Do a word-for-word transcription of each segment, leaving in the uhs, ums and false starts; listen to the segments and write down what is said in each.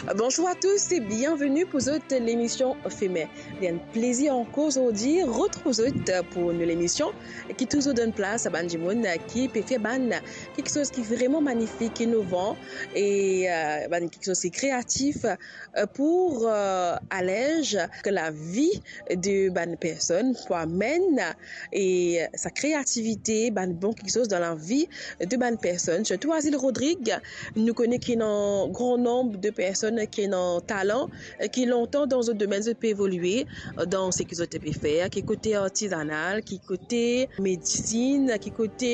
Bonzour a tous e bienveni pou zot lemision Femen. Li enn plezir ankor zordi retrouv zot pou nou lemision ki touzour donn plas a bann dimoun ki pe fer bann kiksoz ki vreman manifik, inovan e, euh, bann kiksoz ki kreatif, euh, pou, euh, alez lavi de bann personn, pou amenn e sa kreativite, bann bon kiksoz dan lavi de bann personn. Sirtou Azil Rodrig, nou kone ki ena gran nonb de personn ki ena talan, ki lontan dan zot domenn zot pe evolie, dan seki zot pe fer, ki kote artizanal, ki kote medisinn, ki kote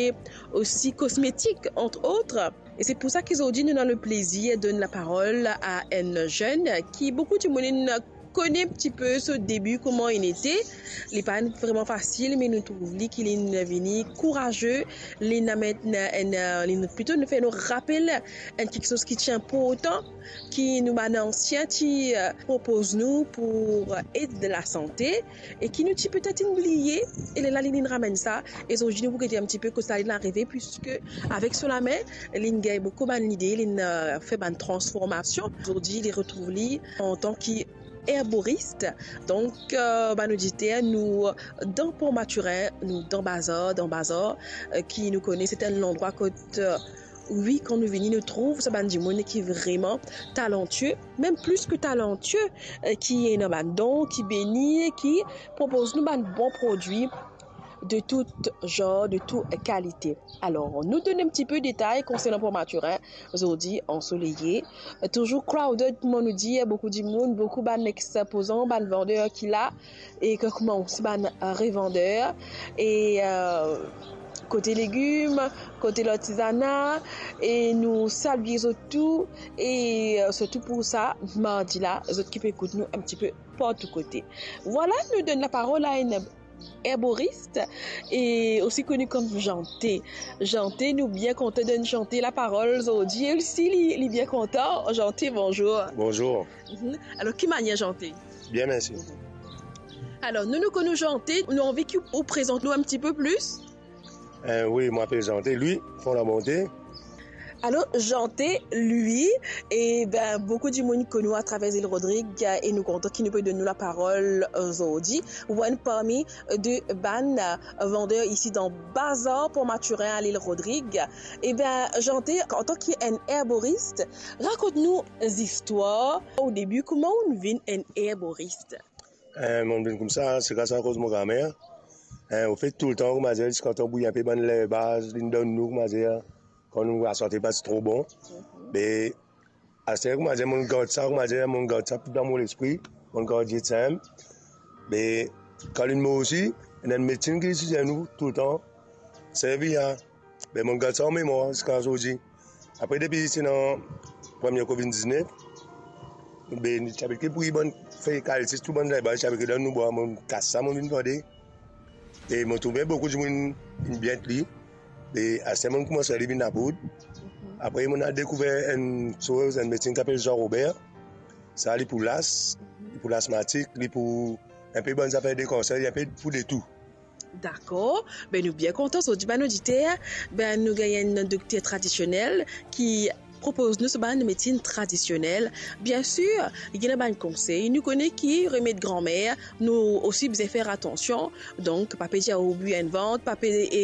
osi kosmetik, entre autres. E se pou sa ki zordi nou ena le plezir donn laparol a enn zenn ki boukou dimoun inn kone enn tipe so debi, kouma inn ete. Li pa vreman fasil, me nou trouv li ki linn vini kouraze, linn amenn enn, linn plito nou fer nou rapel enn kiksoz ki ti inportan, ki nou bann ansien ti, euh, propoz nou pou ed lasante, e ki nou ti petet inn bliye, e lerla linn ramenn sa, e zordi nou pou gete enn tipe kot sa linn arive, piske avek so lame, linn gagn boukou bann lide, linn, euh, fer bann transformasion. Zordi, li retrouv li antan ki erboris. Donk, euh, bann oditer, nou dan Port Mathurin, nou dan Bazar, dan Bazar, euh, ki nou kone, se enn landrwa kot, euh, wi, kan nou vini, nou trouv sa bann dimoun ki vreman talantie, mem plis ki talantie, euh, ki ena bann don, ki beni, ki propoz nou bann bon prodwi de tou zar, de tou kalite. Alor, nou donn enn tipe detay konsernan Port Mathurin, zordi ansoleye, touzour crowded, kouma nou dir, boukou dimoun, boukou bann expozan, bann vander ki la, e ki kouma osi bann revander, e, euh, kote legim, kote lartizana, e nou salie zot tou, e, euh, sirtou pou sa, mardi la, zot ki pe ekout nou enn tipe partou kote. Vwala, nou donn laparol a enn erboris, e osi koni kom Jante. Jante, nou bien kontan donn Jante laparol zordi. E osi, li, li bien kontan. Jante, bonzour. Bonzour. Mhm. Alor, ki manier, Jante? Bien, mersi. Alor, nou, nou konn ou Jante, nou anvi ki ou prezant nou enn tipe plis. Eh, wi, mo apel Jante Louis Fondabonte. Alor, Jante Louis, e ben, boukou dimoun konn ou atraver Azil Rodrig, e nou kontan ki nou pe donn ou laparol, euh, zordi. Ou enn parmi de bann, euh, vander isi dan Bazar Port Mathurin a Azil Rodrig. E ben, Jante, antan ki enn erboris, rakont nou zistwar, o debi, kouma ou vinn enn erboris? Eh, mo vinn koumsa, se gras akoz mo gramer. Eh, anfet, toultan, kouma dir, ziska tan bouyi enpe bann lerbaz, linn donn nou, kouma dir, kan nou lasante pa ti tro bon. Me aster, kouma dir, mo gard sa, kouma dir, mo gard sa dan mo lespri, mo gard li enn. Me kan linn mor osi, ena enn medsin ki ti dir nou toultan, servi a. Me mo gard sa an memwar ziska zordi. Apre, depi ti ena premie covid diznef, be, ti abitie bouyi bann fey kalsis, tou bann lerbaz, ti abitie donn nou bwar, mo kas sa, mo vinn vande. E mo trouve boukou dimoun inn bien li. E aster mo koumans li vinn lapoud. Apre, mo al dekouver enn soz, enn medsin ki apel Jean Robert. Sa, li pou las, li pou lasmatik, li pou enpe bann zafer de kanser, li enpe pou de tou. Dakor. Ben, nou bien kontan, zordi bann oditer, ben, nou gagn enn dokter tradisionel ki propoz nou so bann medsin tradisionel. Biensir, li ena bann konsey. Nou kone ki remed granmer, nou osi bizin fer atansion. Donk, pa pe dir ou bwi enn vant, pa pe, e,